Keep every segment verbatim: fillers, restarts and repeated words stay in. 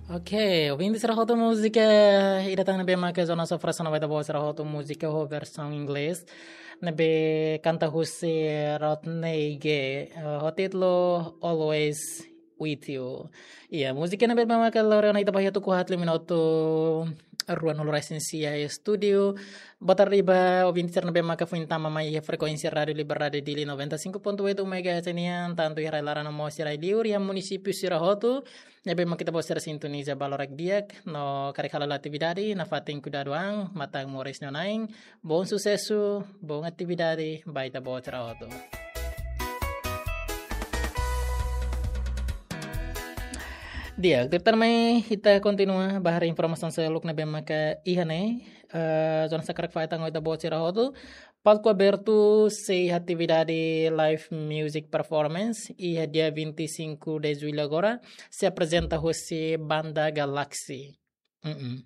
Ok, ouvinte sira hotu, múzika ida tan ne'ebé maka Jonas Sofra Sana ba ita-boot sira hotu, múzika ho versaun inglés ne'ebé kanta husi Rodney Gay, eh, ho títulu Always With You. Iya, múzika ne'ebé maka lori ona ita ba iha tuku haat liu minutu ruanulu-resin-sia iha estúdiu. Boa tarde ba ouvinte sira ne'ebé maka foin tama mai iha frekuénsia Rádiu Liberdade Dili noventa e cinco ponto oito megahertz nian, tantu iha rai-laran no mós iha rai-liur, iha munisípiu sira hotu ne'ebé maka ita-boot sira sintoniza ba loron di'ak, no karik hala'o atividade, nafatin kuidadu an, matan moris no nain, bom susesu, bom atividade ba ita-boot sira hotu. Di'ak, tuirmai ita kontinua ba haree informasaun seluk ne'ebé maka iha ne'e, eh, Jonas hakarak fahe tan ho ita-boot sira hotu. Palku abertu sei atividade live music performance iha dia vinte e cinco de julho agora, sei aprezenta husi Banda Galaxy. Mm-mm.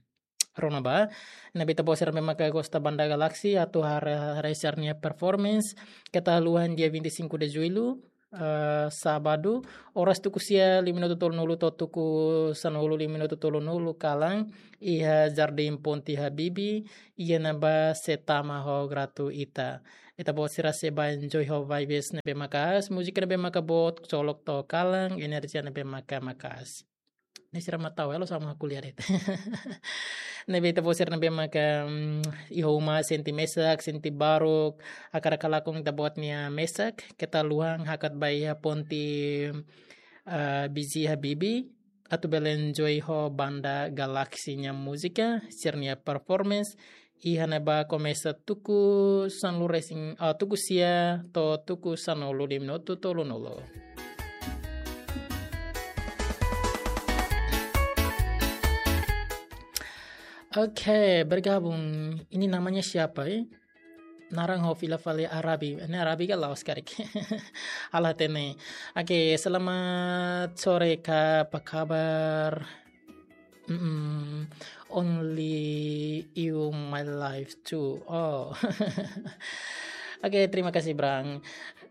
Rona ba, ne'ebé ita-boot sira ne'ebé maka gosta Banda Galaxy atu haree, haree sira-nia performance, keta haluha iha dia vinte e cinco de julho, eh, sábadu, oras tuku sia liu minutu tolunulu to'o tuku sanulu liu minutu tolunulu kalan, iha Jardim Ponte Habibie, iha ne'ebá sei tama ho gratuita. Ita-boot sira sei bá enjoy ho vibes ne'ebé maka'as, múzika ne'ebé maka boot, coloca to'o kalan, enerjia ne'ebé maka maka'as. Ne'e sira mak tau, elo sama kuliah de'it. Ne'ebé ita-boot sira ne'ebé maka, mm, iha uma sente mesak, sente baruk, hakarak halakon ita-boot nia mesak, keta haluha hakat ba iha ponte, eh, Bizia Habibie, atu bele enjoy ho Banda Galaxy nia múzika, sira-nia performance, iha ne'ebá komesa tuku sanulu-resin, ah, tuku sia to'o tuku sanulu liu minutu tolunulu. Oke, bergabung. Ini namanya siapa, eh? Naran ho fila fali Arabi. Ne'e Arabi ka Laos karik. Halo hatene. Oke, selamat sore, Kak. Apa kabar? Mm-mm. Only you my life too. Oh. Oke, terima kasih, Brang.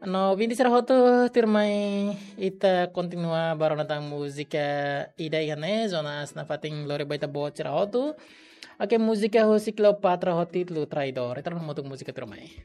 No, ouvinte sira hotu, tuirmai ita kontinua ba rona tan múzika ida iha ne'e, Jonas nafatin lori ba ita-boot sira hotu. Oke, múzika husi Cleopatra ho títulu Traidor. Ita rona hamutuk múzika tuirmai.